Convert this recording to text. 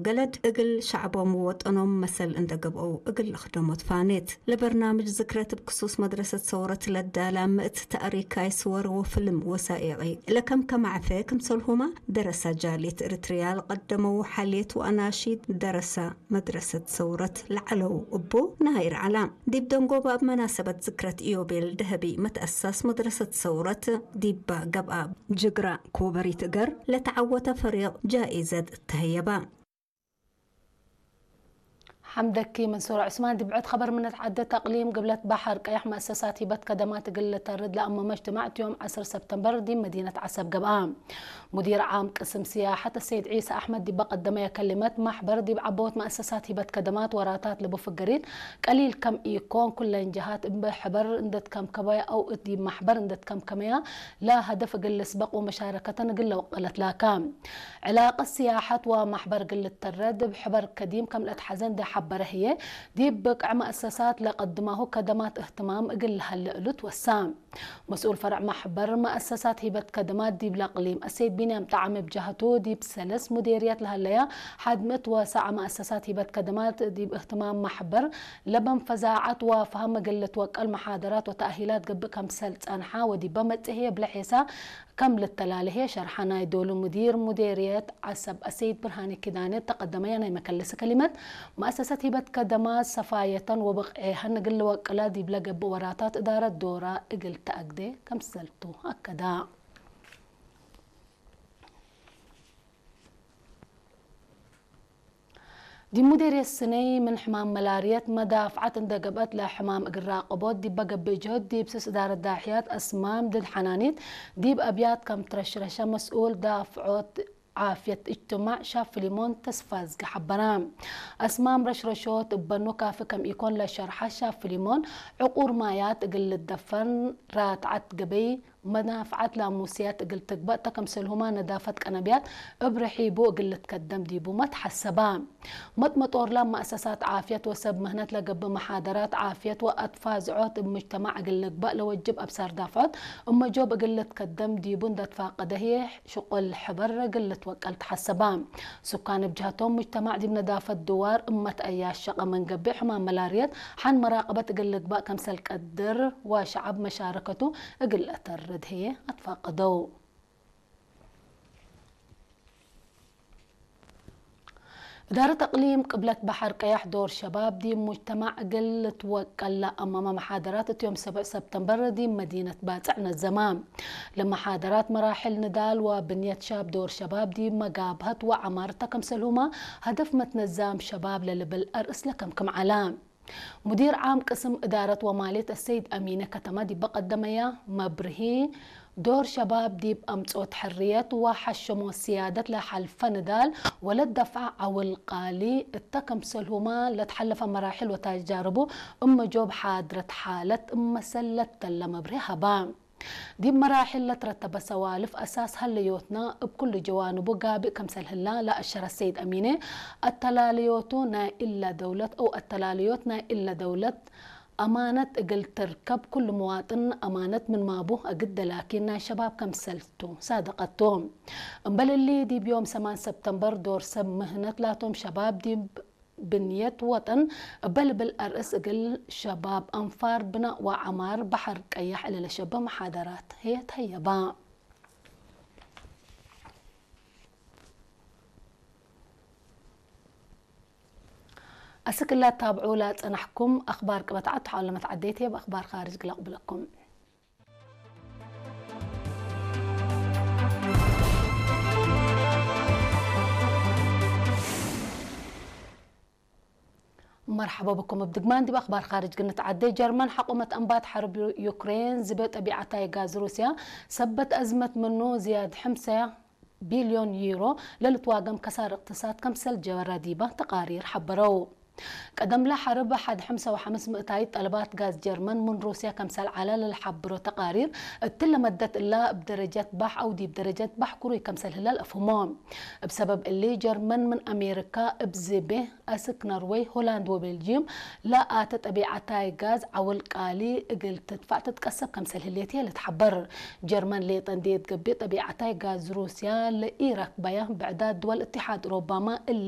ገለድ እግል ሸዕቦም ወጠኖም መሰል እንደገብአው እግል ለኽደሞት ፋኔት። ለበርናምጅ ዝክረት ብክሱስ መድረሰት ሰውረት ለዳላ ምእት ተእሪካይ ስወር ወፍልም ወሳኤቂ ለከም ከማዕፈ ክምሰልሁማ ደረሳ ጃሌት እርትርያ ለቀደመው ሓሌት ወአናሺድ ደረሳ መድረሰት ሰውረት ለዓለው እቦ ናይር ዓላ። ዲብ ደንጎባ ኣብ መናሰበት ዝክረት ኢዮቤል ደህቢ መትአሳስ መድረሰት ሰውረት ዲባ ገብአ ጅግራ ኮበሪት እገር ለተዓወተ ፈሪቕ ጃኢዘት ተህየባ። ሓምደኪ መንሱር ዑስማን። ዲብ ዕድ ኸበር ምነት ዓደት ኣቅሊም ግብለት ባሕር ቀያሕ መእሰሳት ሂበት ከደማት እግል ልተርድ ለአመመ እጅትማዕ ዮም ዐስር ሰብተምበር ዲብ መዲነት ዓሰብ ገብአ። ሙዲር ዓም ቅስም ስያሐት ሰይድ ዒሳ አሕመድ ዲበ ቀደመየ ከሊመት፣ ማሕበር ዲብ ዐቦት መእሰሳት ሂበት ከደማት ወራታት ለቡ ፍገሪት ቀሊል ከም ኢኮን፣ ኩለን ጀሃት እብ ሕበር እንደትከምከበያ አው እት ዲብ ማሕበር እንደትከምከመያ ለሀደፍ እግል ልስበቅ ወመሻረከተን እግል ለወቀለት ላካ። ዕላቀት ስያሐት ወማሕበር እግል ልተረድ እብ ሕበር ከዲም ከም ለአትሐዘ እንዴ ሐበረ ህዬ፣ ዲብ ብቅዕ መእሰሳት ለቀድማሁ ከደማት እህትማም እግል ለሀለ እሉ ትወሳ። መስኡል ፈርዕ ማሕበር መእሰሳት ሂበት ከደማት ዲብ ለቅሊም አሰይድ ቢንያም ጠዓመ ብጀህቱ፣ ዲብ ሰለስ ሙዴርያት ለሀለያ ሐድ ምእት ወሰዓ መእሰሳት ሂበት ከደማት ዲብ እህትማም ማሕበር ለበን ፈዛዐት ወፈሀም እግል ልትወቀል መሓደራት ወተእሂላት ገብእ ከምሰል ጸንሓ ወዲበ መጽእ ህዬ ብለሔሳ ከም ልተላለ ህዬ ሸርሐ። ናይ ዶሉ ሙዲር ሙዴርየት ዐሰብ አሰይድ ብርሃኔ ኪዳነ እተቀደመያ ናይ መከለሲ ከሊመት፣ መአሰሰት ሂበት ከደማት ሰፋየተን ወብቅዔሀን እግል ልወቅላ ዲብ ለገብእ ወራታት እዳረት ዶራ እግል ተአግዴ ከምሰልቱ አከዳ። ዲብ ሙዴርየት ስነይ ምን ሕማም መላርየት መዳፍዓት እንደ ገብአት ለሕማም እግል ራቀቦት ዲበ ገብእ ጅህድ ዲብ ስስ እዳረት ዳሕያት አስማም ድድ ሐናኒት ዲብ አብያት ከም ትረሽረሸ መስኡል ዳፍዖት ዓፍየት እጅትማዕ ሻብ ፊሊሞን ተስፋዝጊ ሐበራ። አስማም ረሽረሾት እበኑ ካፊ ከም ኢኮን ለሸርሐ ሻብ ፊሊሞን፣ ዕቁር ማያት እግል ልደፈን ራትዓት ገበይ መናፍዓት ላሙስያት እግል ትግበእ ተከምሰልሁማ ነዳፈት ቀነብያት እብ ርሒቡ እግል ልትከደም ዲቡመ ተሐሰባ። መጥመጦር ላብ መአሰሳት ዓፍየት ወሰብ ምህነት ለገብእ መሓደራት ዓፍየት ወአትፋዝዖት እብ ሙጅተማዕ እግል ልግበእ ለወጅብ አብሳር ዳፍዖት እመጆብ እግል ልትከደም ዲቡ እንደትፋቀደ ህዬ ሽቁል ሕበር እግል ልትወቀል ተሐሰባ። ሱካን እብ ጀህቶም ሙጅተማዕ ዲብ ነዳፈት ድዋር እመት አያሸቀ ምን ገብእ ሕማም መላርየት ሐን መራቀበት እግል ልግበእ ከምሰል ቀድር ወሸዐብ መሻረከቱ እግል ለአተርድ ህዬ አትፋቀደው። እዳረት አቅሊም ቅብለት በሐር ቀያሕ ዶር ሸባብ ዲብ ሙጅተማዕ እግል ልትወቀል ለአመመ መሓደራት እት ዮም ሰብዕ ሰብተምበር ዲብ መዲነት ባጽዕ ነዘማ። ለመሓደራት መራሕል ንዳል ወብንየት ሻብ ዶር ሸባብ ዲብ መጋብሀት ወዐማር ተከምሰልሁማ ሀደፍ መትነዛም ሸባብ ለልብል አርእስ ለከምክም ዐላ። ሙዲር ዓም ቅስም እዳረት ወማልየት አሰይድ አሚነ ከተማ ዲበ ቀደመያ መብርሂ፣ ዶር ሸባብ ዲብ አምጽኦት ሕርየት ወሐሸሞ ስያደት ለሐልፈ ንዳል ወለደፍዐ ዐውል ቃሊ እተ ከምሰልሁማ ለትሐለፈ መራሕል ወተጃርቡ እመ ጆብ ሓድረት ሓለት እመሰል ለተለ መብርሂ ሀባ። ዲብ መራሕል ለትረተበ ሰዋልፍ አሳስ ሀለዮትና እብ ኩሉ ጀዋንቡ ጋብእ ከምሰል ህላ ለአሸረ ሰይድ አሚነ፣ አተላለዮቱ ናይ እለ ደውለት አው አተላለዮት ናይ እለ ደውለት አማነት እግል ትርከብ ኩሉ መዋጥን አማነት ምን ማቡ አግደ ላኪን ናይ ሸባብ ከምሰልቱ ሳደቀቱ። እምበል እሊ ዲብ ዮም ሰማን ሰብተምበር ዶር ሰብ ምህነት ላቶም ሸባብ ዲብ ብንየት ወጠን እበ ልብል አርእስ እግል ሸባብ አንፋር ብናእ ወዐማር በሐር ቀያሕ እለ ለሸበ መሓደራት ህየ ተህየባ። አስክ እላ ታብዑ ላጸናሕኩም አኽባር ቅበት ዓድ ተሓለመት ዓደይት ህየ በአኽባር ካርጅ ግለቅብለኩም። መርሐባ ብኩም። እብ ድግማን ዲብ አኽባር ካርጅ ግንትዓዴ። ጀርመን ሐቆመት አንባት ሐርብ ዩክሬን ዝቤ ጠቢዓታይ ጋዝ ሩስያ ሰበት አዝመት ምኑ ዝያድ ሐምሳ ቢልዮን ዩሮ ለልትዋገም ከሳር እቅትሳድ ከምሰል ጀበራ ዲባ ተቃሪር ሐበረው። ቀደምለ ሐርብ ሐድ ሐምሳ ወሐምስ ምእታይት ጠለባት ጋዝ ጀርመን ምን ሩስያ ከምሰል ዐለ ለልሐብሮ ተቃሪር፣ እትለ መደት እላ እብ ደረጀት ባሕ አው ዲብ ደረጀት ባሕ ክሩይ ከምሰል ህለ ለአፍህሞ። እብ ሰበብ እሊ ጀርመን ምን አሜሪካ እብ ዝቤ አስክ ኖርወይ፣ ሆላንድ ወቤልጅዩም ለአተ ጠቢዓታይ ጋዝ ዐውል ቃሊ እግል ትድፋዕ ትትቀሰብ ከምሰል ህሌት ህየ ልትሐበር። ጀርመን ሌጠ እንዴ ትገብእ ጠቢዓታይ ጋዝ ሩስያ ለኢረክበያ ብዕዳት ድወል እትሓድ ኦሮባማ እሊ